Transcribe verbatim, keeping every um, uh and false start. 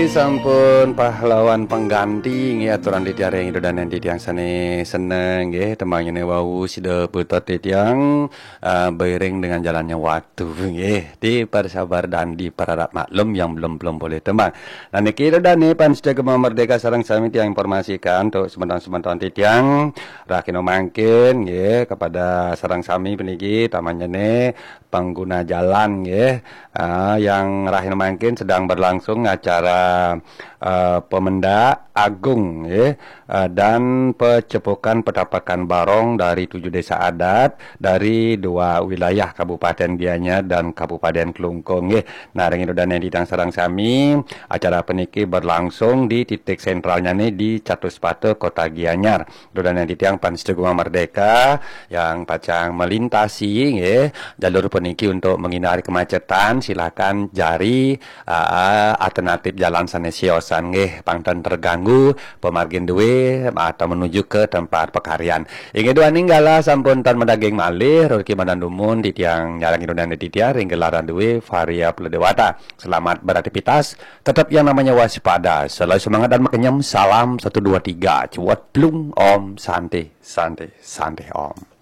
Sampun pahlawan pengganti nggih, aturan titiang ring Ida Dane titiang sane seneng nggih, tembangnye wau sida putet titiang, eh, beiring dengan jalannya waktu nggih. Dipersabar dan diperharap maklum yang belum-belum boleh tembang. Nah niki Ida Dane pamiarsa Gema Merdeka sareng sami tiang informasikan untuk semeton-semeton titiang rahina mangkin nggih, kepada sareng sami puniki tamanyane pengguna jalan nggih. Ah, yang rahina mangkin sedang berlangsung acara, eh, Pemendak Agung nggih, eh, dan Pecepukan Petapakan Barong dari tujuh desa adat dari dua wilayah Kabupaten Gianyar dan Kabupaten Klungkung nggih. Nah, ring Ida Dane titiang sareng sami, acara puniki berlangsung di titik sentralnya nih di Catuspata Kota Gianyar. Ida Dane titiang pamiarsa Gema Merdeka yang pacang melintasi nggih, jalur puniki untuk menghindari kemacetan, silakan cari, ah, alternatif jalan sane siosan nggih, pang ten terganggu pamargin duwe atau menuju ke tempat pekaryan. Inggih duaning galah sampun tan madaging malih, rezeki madan dumun titiang nyarengin Ida Dane titiang ring gelaran duwe Varia Pula Dewata. Selamat beraktivitas, tetap yang namanya waspada, selalu semangat dan makenyem. Salam satu dua tiga, cuat plung, Om Santi, Santi, Santi Om.